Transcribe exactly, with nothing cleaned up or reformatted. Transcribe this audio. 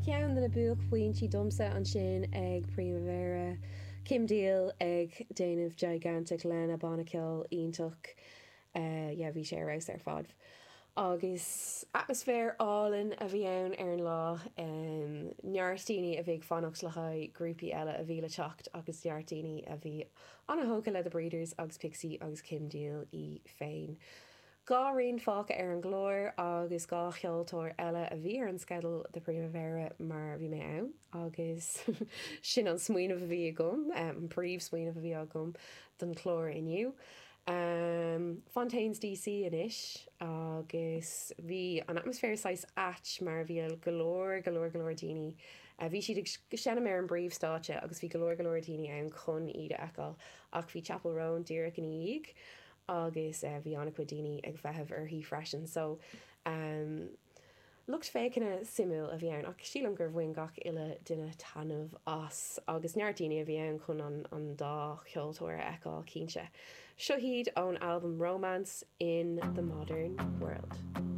Ceann de na buaicphointí domsa ansin ag Primavera, Kim Deal ag déanamh Gigantic lena banna ceoil iontach uh, yeah, bhí sé ar fheabhas ar fad. Agus atmaisféar álainn a bhí ann ar an lá um, neart daoine a bhí ag fanacht le haghaidh grúpaí eile a bhí le teacht agus neart daoine a bhí an-tógtha le The Breeders agus Pixie agus Kim Deal í féin. Dhá rian fágtha ar an gclár agus dhá cheoltóir eile a bhí ar an sceideal de Primavera mar bhí mé ann agus sin an smaoineamh a bhí agam an príomhsmaoineamh a bhí agam don chlár inniu. Um, Fontaines DC anois agus bhí an atmaisféar saghas ait mar bhí go leor go leor go leor daoine. Uh, bhí siad ag seinm ar an bpríomhstáitse agus bhí go leor go leor daoine ann chun iad a fheiceáil ach bhí Chappell Roan díreach ina dhiaidh agus uh, bhí an-chuid daoine ag feitheamh uirthi freisin so um, lucht féachana suimiúil a bhí ann ach sílim gur bhain gach uile duine taitneamh as agus neart daoine a bhí ann chun an, an dá cheoltóir a fheiceáil cinnte. Seo hiad ón album Romance in the Modern World.